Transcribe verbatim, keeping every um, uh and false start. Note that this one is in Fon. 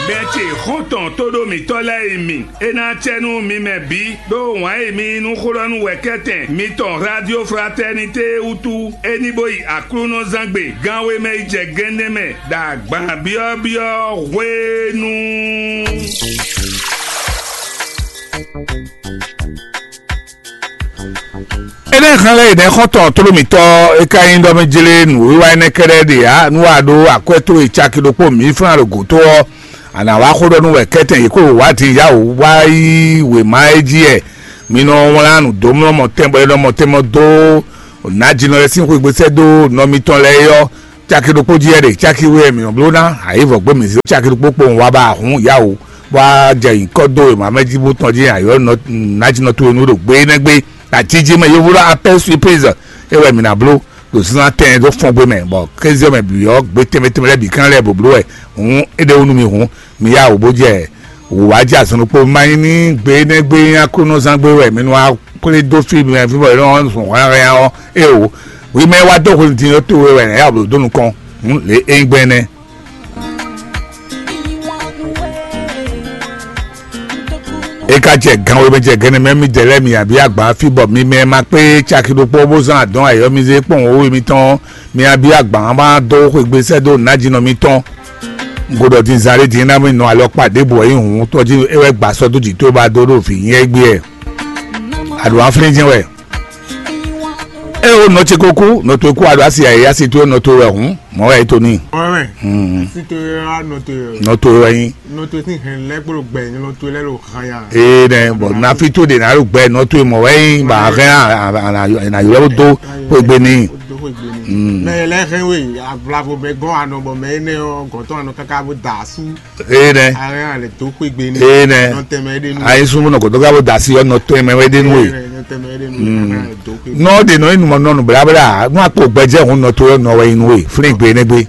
Bɛn ce xɔ́ntɔn tóɖó mǐtɔn lɛ́ɛ e mi, é ná acɛ nú mi mɛ bǐ, ɖó wǎn e mi yí nú xó ɖɔ nú wɛ̌kɛ́tɛn mitɔn Radio Fraternité wútu, é ní bó yi Aklúnɔzángbe gánwé mɛ yi jɛ gɛ́nɛ́ mɛ ɖo agban byɔ́byɔ́ hwenu. Énɛ́ hɛn lɛ́ɛ yi nɛ́ xɔ́ntɔn tlóló mǐtɔn é ka nyí ɖɔ mɛ jlé nǔwiwa énɛ́ kɛ́ɖɛ́ ɖe ǎ, nú a ɖó akwɛ́ towe caki ɖokpó mǐ flán ɖo gǒ tó ɔ́, a nǎ wá xó ɖɔ nú wɛ kɛ́tɛn yě kó wá din yá wǔ wá yí wěma é jí wɛ. Mi nɔ wlán nǔ dó mlɔ́ mɔtɛn bɔ é nɔ mɔtɛn mɔ dó nǎjínɔ lɛ́ɛ sín xwégbésɛ́ dó nɔ mitɔn lɛ́ɛ é ɔ́, caki ɖokpó jí wɛ ɖe, caki we wɛ mǐ nɔ bló ná, ayǐ vɔ gbé mǐ zé caki ɖokpó kpowun wá ba hǔn yá wǔ, bó wá jɛ nyǐkɔ dó wěma mɛ jí bó tɔn jí ayǐ ɔ́, nǎjínɔ towe nú ɖo gbé énɛ́ gbé. Ajíjí mɛ yovo ɖɔ appel surprise é wɛ mǐ ná bló ɖo zínzán tɛn dó fɔ́n gbé mɛ, bɔ kéze ɔ́ mɛ bǐ ɔ́, gbé tɛnmɛ tɛnmɛ lɛ́ɛ bǐ kán lɛ́ bó bló wɛ. Hǔn é ɖe wú nú mi hǔn, mi yá wǔ bó jɛ wǔ wá jɛ azɔn ɖokpó. Ma nyí ní gbe énɛ́ gbe nyí Aklúnɔzán gbé wɛ mi nɔ wá kplé dó fí mɛ fí bɔ é nɔ zɔn hwlɛ́nhwlɛ́n ɔ́, éeǒ. Hwi mɛ wá dó hwenu din ɔ́ towe wɛ nǎ yá wǔ dó nukɔn. Hǔn lě é nyí gbɛn nɛ́. É ka jɛ gan we mɛ jɛ gɛnɛ mɛ midɛɛ lɛ́ɛ mi abí agban fí bɔ mi mɛ ma kpé caki ɖokpó bó zán adɔn ayɔmizé kpɔn wǒ we mitɔn, mi abí agban ma dó xwegbe sɛ́ dó nǎjínɔ mitɔn. Godɔ din zan ɖé din ná mi nɔ alɔkpa ɖěbǔ wɛ nyí hǔn tɔjí é wɛ gba sɔ́ dó jǐ tó ba dó ɖo vǐ nyɛ gbé ɛ. Aɖǒ aflín jɛ́n wɛ. É o nɔ ce ko kú, nɔ towe kú aɖo asi ayé asi towe nɔ towe wɛ hǔn, mɔ̌ wɛ é to n'i. Mɔ̌ wɛ. Hmm. Asi towe wá nɔ towe wɛ. Nɔ towe wɛ nyí. Nɔ towe sín hɛn lɛ́ kpó ɖo gbɛ, nɔ towe lɛ́ ɖo han ya. Ee nɛ, bɔ nafi to ɖe ná ɖo gbɛ nɔ towe mɔ̌ wɛ nyí, ba hɛn a na ylɔ́ dó xwegbe n'i. Dó xwegbe n'i. Hmm. Mɛ lɛ hɛn we, avlavo mɛ gɔn anɔ bɔ mɛ énɛ́ ɔ́ gɔ̌tɔn anɔ káká bó da asú. Ee nɛ. Ayi súnmù nɔ kòtò ká bó da asi ɔ́ nɔ tó ɛmɛ wɛ dé nú we. Nɔ ɖe nɔ inú mɔ nɔnu blabla nú akpɔ gbɛjɛ hun nɔ tó yɔ nɔ wɛ inú we flin gbe ne gbe.